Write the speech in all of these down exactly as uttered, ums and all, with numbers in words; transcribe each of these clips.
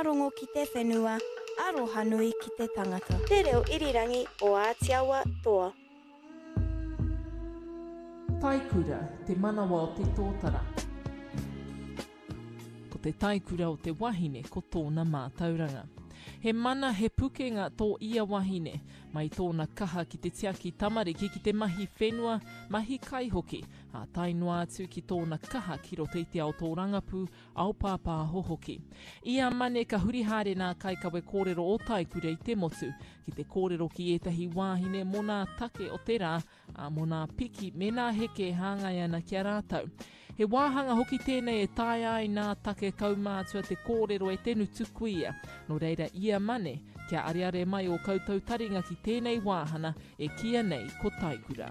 Maungārongo ki te whenua, arohanui ki te tangata. Te reo irirangi o Ātiawa Toa. Taikura, te manawa o te tōtara. Ko te taikura o te wahine ko tōna mātauranga. He mana, he pukenga tō ia wahine, mai tōna kaha ki te tiaki tamariki ki te mahi whenua, mahi kai hoki, ā tae noa atu ki tōna kaha ki roto i te ao tōrangapū, ao pāpāho hoki. Ia Mane ka huri haere nā kaikawe kōrero o Taikura i te motu, ki te kōrero ki ētahi wāhine mō nā take o te rā, ā, mō nā piki me nā heke e hāngai ana ki a rātou. He wāhanga hoki tēnei e taea ai nā take kaumātua te kōrero e te ngutu kuia. Nō reira ia Mane, kia areare mai ō koutou taringa ki tēnei wāhana e kīia nei ko Taikura.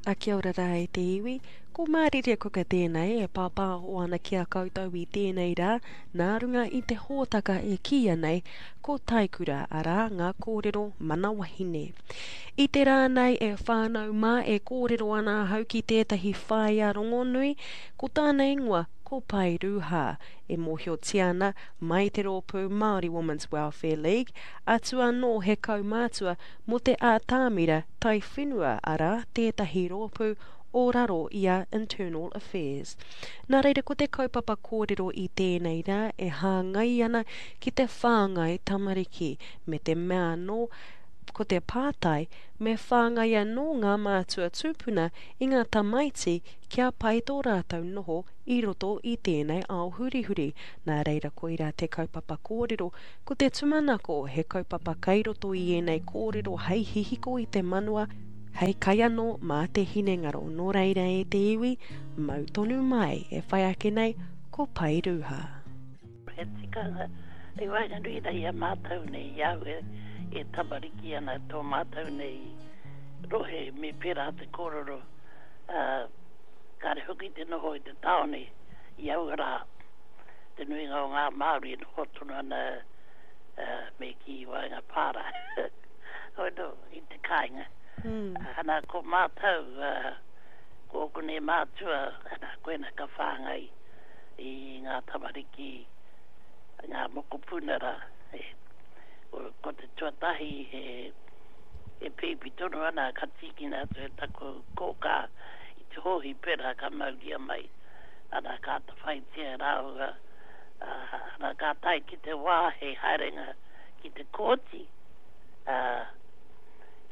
A kia ora rā e te iwi, ko Mārire Kuka tēnei e pāpāho ana ki a koutou i tēnei rā, nā runga i te hōtaka e kīia nei ko Taikura, arā ngā kōrero mana wahine. I te rā nei e whānau mā e kōrero ana ahau ki tētahi whaea rongonui, ko tāna ingoa ko Pai Ruha, e mōhiotia ana mai te rōpū Māori Women's Welfare League, atu anō he kaumātua mō te ātamira taiwhenua, arā tētahi rōpū o raro i a Internal Affairs. Nā reira ko te kaupapa kōrero i tēnei rā e hāngai ana ki te whāngai tamariki, me te mea anō, ko te pātai, me whāngai anō ngā mātua tūpuna i ngā tamaiti kia pai tō rātou noho i roto i tēnei ao hurihuri. Nā reira koirā te kaupapa kōrero, ko te tūmanako he kaupapa kai roto i ēnei kōrero hei hihiko i te manawa, hei kai anō mā te hinengaro. Nō reira e te iwi, mau tonu mai e whai ake nei ko Pai Ruha. He tikanga, i waenganui nei i a mātou nei, i au e, e tamariki ana tō mātou nei rohe me pērā te kōrero, uh, kāre hoki te noho i te tāone i aua rā. Te nuinga o ngā Māori e noho tonu ana uh, me ki waenga pāra. Hoi no, i te kāinga. Mm. Ana ko mātou, uh, ko ōku nei mātua, ana koena ka whāngai i ngā tamariki, ngā mokopuna rā. E, ko, ko te tuatahi he, e pēpi tonu ana ka tīkina atu e taku kōkā i te hōhipera ka mauria mai. Ana ka atawhaitia rāua, uh, ana ka tae ki te wā he haerenga ki te kōti, uh,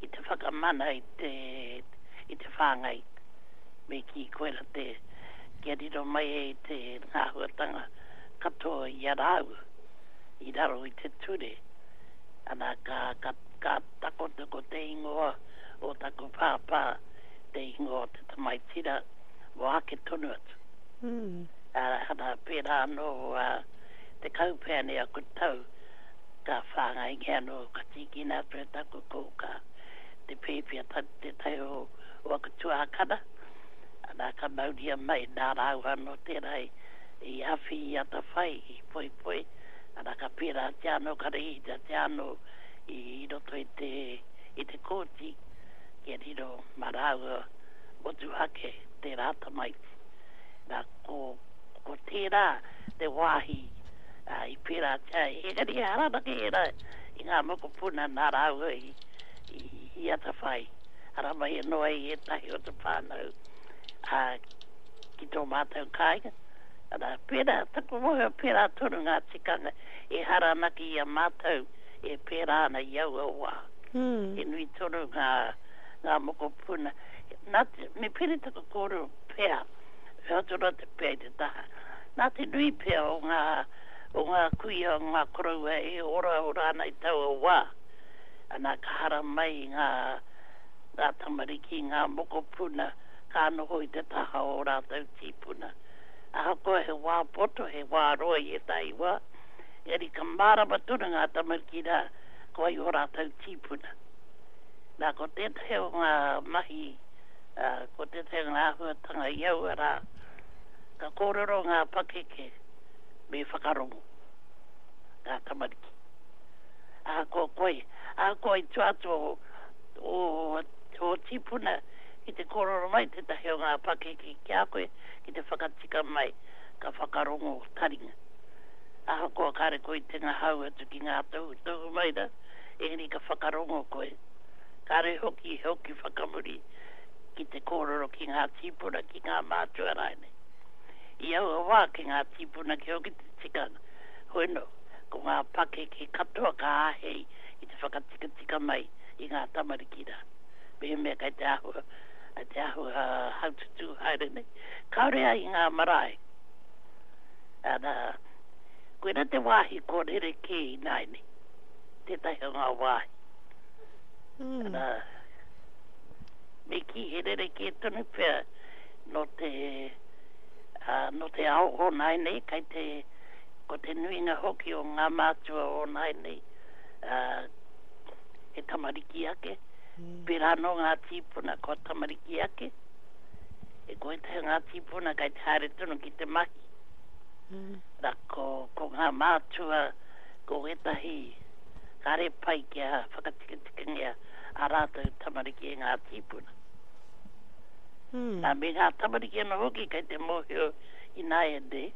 ki te whakamana i te, i te whāngai. Me ki koera te, kia riro mai e te ngāhuatanga katoa i a rāua, i raro i te ture. Ana ka, ka, ka takoto ko te ingoa o taku pāpā, te ingoa o te tamaitira, mō ake tonu atu. Mm. Ana pērā anō uh, te kaupea nei aku tau, ka whāngaingia anō, ka tīkina atu e taku kōkā, te pēpi a ta, te tai o, o aku tuākana. Ana ka mauria mai nā rāua anō tērā i, i awhi i atawhai, i poipoi. Ana ka pērā te anō, ka rehita te anō i roto i te, i te kōti, kia riro mā rāua motuhake tērā tamaiti. Nā, ko, ko tērā te wāhi uh, i pērā te ai. Engari e haranake ērā i ngā mokopuna nā rāua i, i, i atawhai. Ara mai anō ai ētahi o te whānau uh, ki tō mātou kāinga. Ana, pērā, taku mōhio pērā tonu ngā tikanga e haranake i a mātou e pērā ana i aua wā. Mm. He nui tonu ngā, ngā mokopuna. Nā te, me pere taku kōrero pea, he atu te pea i te taha. Nā te nui pea o ngā, o ngā kuia, o ngā koroua e ora ora ana i taua wā. Ana ka hara mai ngā, ngā tamariki, ngā mokopuna, ka noho i te taha o rātou tīpuna. Ahakoa he wā poto, he wā roa i ētahi wā, engari ka mārama tonu ngā tamariki rā, ko ai o rātou tīpuna. Nā, ko tētahi o ngā mahi, uh, ko tētahi o ngā āhuatanga i aua rā, ka kōrero ngā pakeke me whakarongo ngā tamariki. Ahakoa koe, ahakoa i tua atu o, o, tō tīpuna, ki te kōrero mai tētahi o ngā pakeke ki a koe, ki te whakatika mai, ka whakarongo taringa. Ahakoa kāre koe i te ngahau atu ki ngā tohutohu mai rā, engari ka whakarongo koe. Kāre hoki hoki whakamuri ki te kōrero ki ngā tīpuna, ki ngā mātua rānei. I aua wā ki ngā tīpuna ki hoki te tikanga. Hoi no, ko ngā pakeke katoa ka āhei i te whakatikatika mai i ngā tamariki rā. Mehemea kei te āhua, kei te āhua haututū haere nei. Kāore ai i ngā marae. Ana, koina te wāhi kua rerekē ināianei, tētahi o ngā wāhi. Mm. Ana, me kī he rerekē tonu pea nō te, uh, nō te ao o nāianei, kei te, ko te nuinga hoki o ngā mātua o nāianei, uh, he tamariki ake. Mm. Pērā anō ngā tīpuna kua tamariki ake. E ko ētahi o ngā tīpuna kei te haere tonu ki te mahi. Mm. Rā, ko, ko ngā mātua, ko ētahi kāre pai kia whakatikatikangia a rātou tamariki e ngā tīpuna. Mm. Nā, me ngā tamariki anō hoki kei te mōhio ināianei,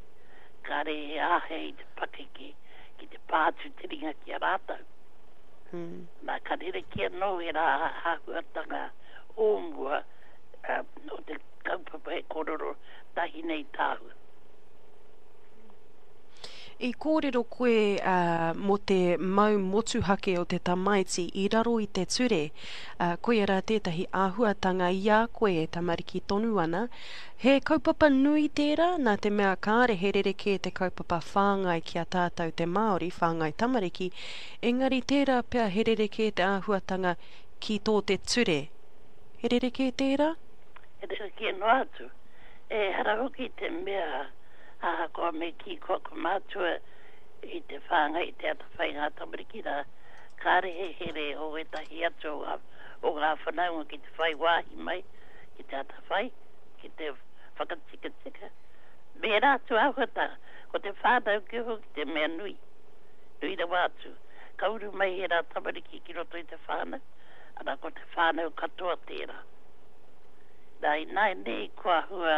kāre e āhei te pakeke ki te pā atu te ringa ki a rātou. Mm. Nā, ka rerekē anō ērā āhuatanga o mua, uh, o te kaupapa e kōrero tahi nei tāua. I kōrero koe uh, mō te mau motuhake o te tamaiti i raro i te ture. Uh, koia rā tētahi āhuatanga i a koe e tamariki tonu ana. He kaupapa nui tērā, nā te mea kāre he rerekē te kaupapa whāngai ki a tātou te Māori, whāngai tamariki, engari tērā pea he rerekē te āhuatanga ki tō te ture. He rerekē tērā? He rerekē noa atu. Ehara hoki te mea ahakoa me kī ko aku mātua i te whāngai, i te atawhai ngā tamariki rā, kāre he here o ētahi atu o ngā, o ngā whanaunga ki te whai wāhi mai, ki te atawhai, ki te whakatikatika. Me ērā atu āhuatanga, ko te whānau ki hoki te mea nui, nui rawa atu. Ka uru mai ērā tamariki ki roto i te whānau, ana ko te whānau katoa tērā. Nā, ināianei kua hua,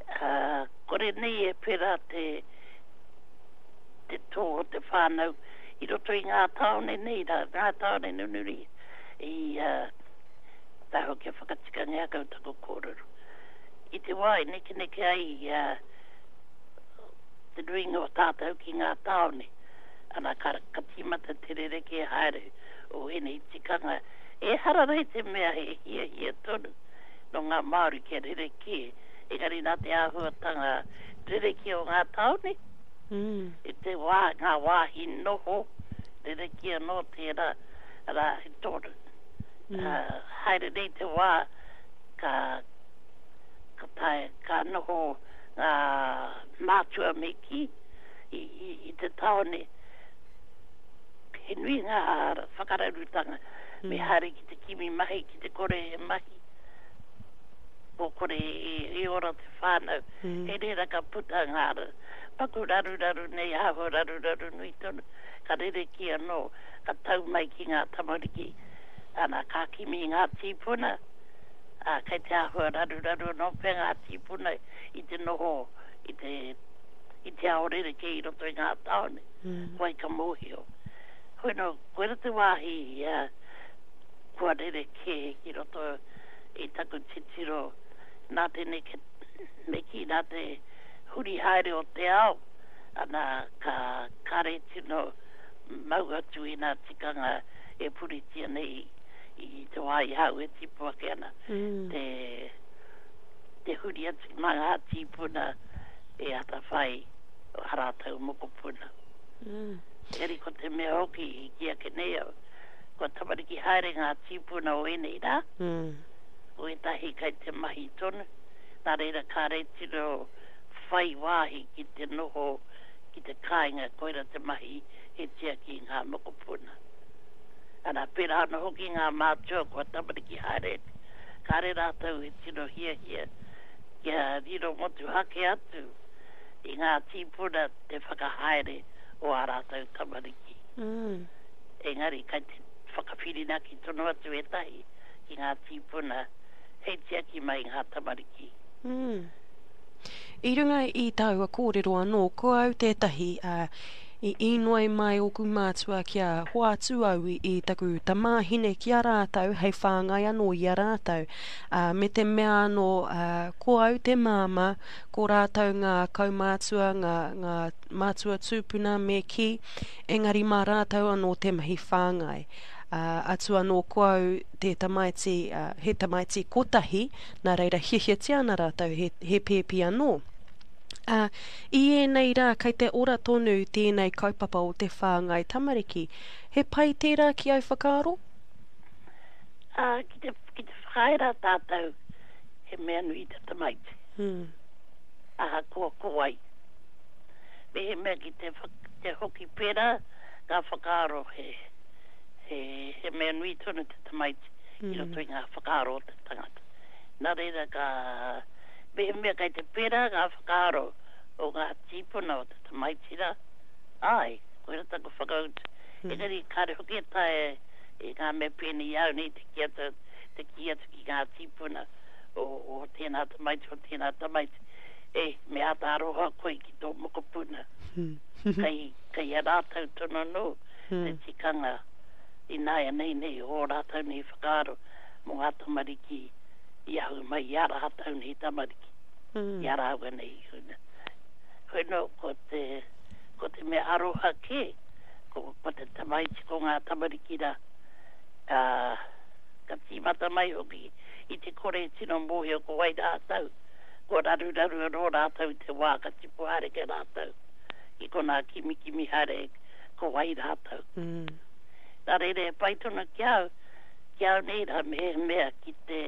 uh, kore nei e pērā te, te tō o te whānau i roto i ngā tāone nei, rā, ngā tāone nunuri i uh, taho kia whakatikangia kau taku kōrero. I te wā i nekeneke ai uh, te nuinga o tātou ki ngā tāone, ana ka, ka tīmata te rerekē haere o ēnei tikanga. Ehara rei te mea he hiahia tonu nō ngā Māori kia rerekē, engari nā te āhuatanga rerekē o ngā tāone, Mm. i te wā, ngā wāhi noho, rerekē anō tērā, arā, he tōna. Mm. Uh, haere nei te wā, ka, ka, tae, ka noho ngā mātua me kī i, i, i te tāone, he nui ngā whakararutanga, Mm. me haere ki te kimi mahi, ki te kore he mahi, ko kore e, e ora te whānau. Mm. He reira ka puta ngā paku raruraru nei, āhua raruraru nui tonu, ka rerekē anō, ka tau mai ki ngā tamariki, ana ka kimi ngā tīpuna, ā, kei te āhua raruraru anō pea ngā tīpuna i te noho, i te, i te ao rerekē i roto i ngā tāone, Mm. wai ka mōhio. Hoi no, koira te wāhi uh, kua rerekē ki roto i taku titiro nā te neke, me kī nā te huri haere o te ao, ana ka kāre tino mau atu i ngā tikanga e puritia nei i te wā i hau e tipu ake ana. Mm. Te, te huri atu mā ngā tīpuna e atawhai o ā rātou mokopuna. Mm. Engari ko te mea hoki i kī ake nei au, kua tamariki haere ngā tīpuna o ēnei rā, Mm. ko ētahi kei te mahi tonu, nā reira kāre tino whai wāhi ki te noho ki te kāinga, koira te mahi he tiaki ngā mokopuna. Ana, pērā anō hoki ngā mātua kua tamariki haere, kāre rātou e tino hiahia kia riro motuhake atu i ngā tīpuna te whakahaere o ā rātou tamariki. Mm. Engari, kei te whakawhirinaki tonu atu ētahi ki ngā tīpuna hei tiaki mai i ngā tamariki. Mm. I runga i taua kōrero anō, ko au tētahi, ā, i inoi mai ōku mātua kia hoatu au i taku tamāhine ki a rātou hei whāngai anō i a rātou. Ā, me te mea anō, ā, ko au te māmā, ko rātou ngā kaumātua, ngā, ngā mātua tūpuna me kī, engari mā rātou anō te mahi whāngai. Ā, atu anō ko au te tamaiti, ā, he tamaiti kotahi, nā reira hiahiatia ana rātou he, he pēpi anō. Ā, i ēnei rā kei te ora tonu tēnei kaupapa o te whāngai tamariki. He pai tērā ki au whakaaro? Ā, ki te, ki te whakaae rā tātou, he mea nui te tamaiti. Hmm. Ahakoa ko wai. Mehemea ki te, te hoki pērā, ngā whakaaro he, he, he mea nui tonu te tamaiti mm. i roto i ngā whakaaro o te tangata. Nā reira ka, mehemea kei te pērā ngā whakaaro o ngā tīpuna o te tamaiti rā, āe, koira taku whakautu. Mm. Engari kāre hoki e taea e ngā mea pēnei i au nei te kī atu, te kī atu ki ngā tīpuna o, o tēnā tamaiti, o tēnā tamaiti, e, me āta aroha koe ki tō mokopuna. Kei, kei a rātou tonu anō te tikanga ināianei nei o ō rātou nei whakaaro mō ngā tamariki i ahu mai i ā rātou nei tamariki, i a rāua nei. Hoi nō, ko te, ko te mea aroha kē, ko, ko te tamaiti, ko ngā tamariki rā, ā, ka tīmata mai hoki i te kore e tino mōhio ko wai rātou, kua raruraru anō rātou i te wā ka tipu haere kē rātou, i konā kimikimi haere ko wai rātou. Mm. Nā reira e pai tonu ki au, ki au nei rā mehemea ki te